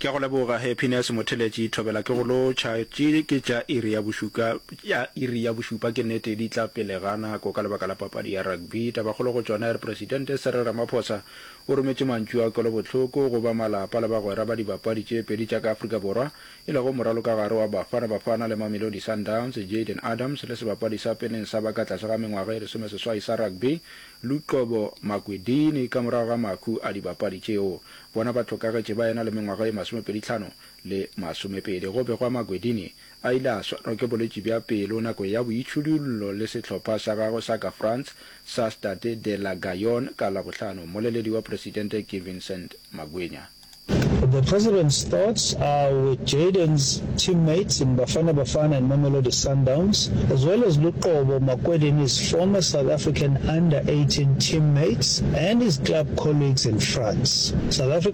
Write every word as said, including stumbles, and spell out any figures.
Ke a go leboga Happiness Motheletši Thobela ke go lotšha. Tše ke tša iri ya bošuka ya iri ya bošupa ke nnete di tla pele ga nako ka lebaka la papadi ya rugby. Tabakgolo go tšona e re Presidente Cyril Ramaphosa o rometše mantšu a kwelobohloko go ba malapa le bagwera ba dibapadi tše pedi tša ka Afrika Borwa e lego moralokagare wa Bafana Bafana le Mamelodi Sundowns Jayden Adams le sebapadi sa peleng sa ba ka tlase ga mengwaga e lesomeseswai sa rugby Luqobo Makwedini ka morago ga mahu a dibapadi tšeo. Bona ba hlokagetše ba ena le mengwaga e masomepedi-hlano le masomepedi. Go begwa Makwedini a ile a swarwa ke bolwetši bja pelo nakong ya boitšhidullo le sehlopha sa gagwe sa ka France sa Stade de la Gaillon ka Labohlano. Mmoleledi wa Presidente ke Vincent Magwenya. The president's thoughts are with Jayden's teammates in Bafana Bafana and Mamelodi Sundowns, as well as Luqobo Makwedini's former South African under eighteen teammates and his club colleagues in France. South Africa